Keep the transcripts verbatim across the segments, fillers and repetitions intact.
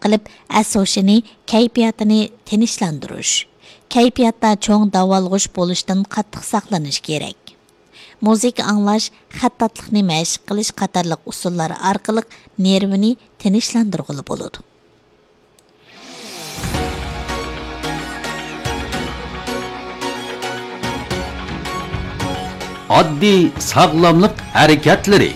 قىلىپ، ئەس-ھوشىنى، كەيپىياتىنى تىنچلاندۇرۇش. كەيپىياتتا چوڭ داۋالغۇش بولۇشتىن قاتتىق ساقلىنىش كېرەك. مۇزىكا ئاڭلاش، خەتتاتلىقنى مەشىق قىلىش قاتارلىق ئۇسۇللار ئارقىلىق نېرۋىنى تىنچلاندۇرغىلى بولىدۇ. ئاددىي ساغلاملىق ھەرىكەتلىرى.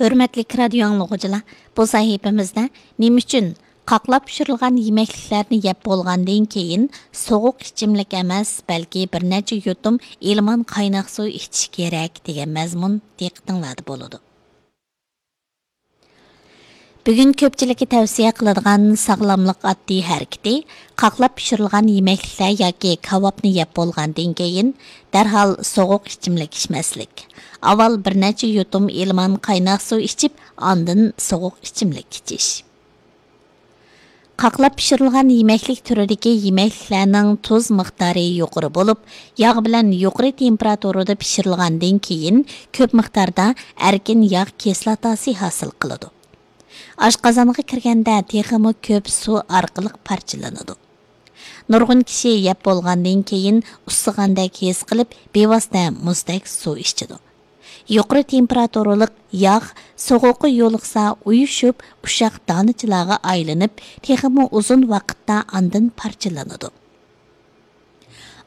ھۆرمەتلىك رادىيو ئاڭلىغۇچىلار، بۇ سەھىپىمىزدە نېمە ئۈچۈن قاقلاپ پىشۇرۇلغان يېمەكلىكلەرنى يەپ بولغاندىن كېيىن سوغۇق ئىچىملىك ئەمەس، بەلكى بىر نەچچە يۇتۇم ئىلمان قايناق سۇ ئىچىش كېرەك دېگەن مەزمۇن دىققىتىڭلاردا بولىدۇ. بۈگۈن كۆپچىلىككە تەۋسىيە قىلىدىغان ساغلاملىق ئاددىي ھەرىكىتى، قاقلاپ پىشۇرۇلغان يېمەكلىكلەر ياكى كاۋاپنى يەپ بولغاندىن كېيىن، دەرھال سوغۇق ئىچىملىك ئىچمەسلىك. ئاۋۋال بىر نەچچە يۇتۇم ئىلمان قايناق سۇ ئىچىپ، ئاندىن سوغۇق ئىچىملىك ئىچىش. قاقلاپ پىشۇرۇلغان يېمەكلىك تۈرىدىكى يېمەكلىكلەرنىڭ تۇز مىقدارى يۇقىرى بولۇپ، ياغ بىلەن يۇقىرى تېمپېراتۇرىدا پىشۇرۇلغاندىن كېيىن، كۆپ مىقداردا ئەركىن ياغ كىسلاتاسى ھاسىل قىلىدۇ. ئاشقازانغا كىرگەندە تېخىمۇ كۆپ سۇ ئارقىلىق پارچىلىنىدۇ. نۇرغۇن كىشى يەپ بولغاندىن كېيىن ئۇسسىغاندەك ھېس قىلىپ، بىۋاسىتە مۇزدەك سۇ ئىچىدۇ. يۇقىرى تېمپېراتۇرىلىق ياغ سوغۇققا يولۇقسا، ئۇيۇشۇپ، ئۇششاق دانىچىلارغا ئايلىنىپ، تېخىمۇ ئۇزۇن ۋاقىتتا ئاندىن پارچىلىنىدۇ.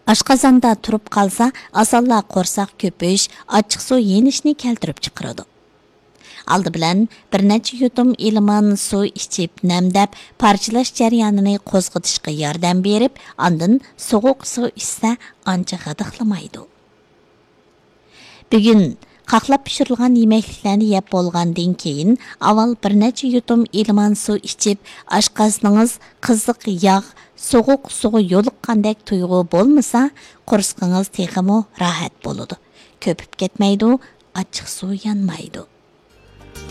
ئاشقازاندا تۇرۇپ قالسا، ئاسانلا قورساق كۆپۈش، ئاچچىقسۇ يېنىشنى كەلتۈرۈپ چىقىرىدۇ. ئالدى بىلەن بىر نەچچە يۇتۇم ئىلمان سۇ ئىچىپ، نەمدەپ، پارچىلاش جەريانىنى قوزغىتىشقا ياردەم بېرىپ، ئاندىن سوغۇق سۇ ئىچسە، ئانچە غىدىقلىمايدۇ. بۈگۈن قاقلاپ پىشۇرۇلغان يېمەكلىكلەرنى يەپ بولغاندىن كېيىن، ئاۋۋال بىر نەچچە يۇتۇم ئىلمان سۇ ئىچىپ، ئاشقازىنىڭىز قىزىق ياغ، سوغۇق سۇغا يولۇققاندەك تۇيغۇ بولمىسا، قورسىقىڭىز تېخىمۇ راھەت بولىدۇ. كۆپۈپ كەتمەيدۇ، ئاچچىقسۇ يانمايدۇ.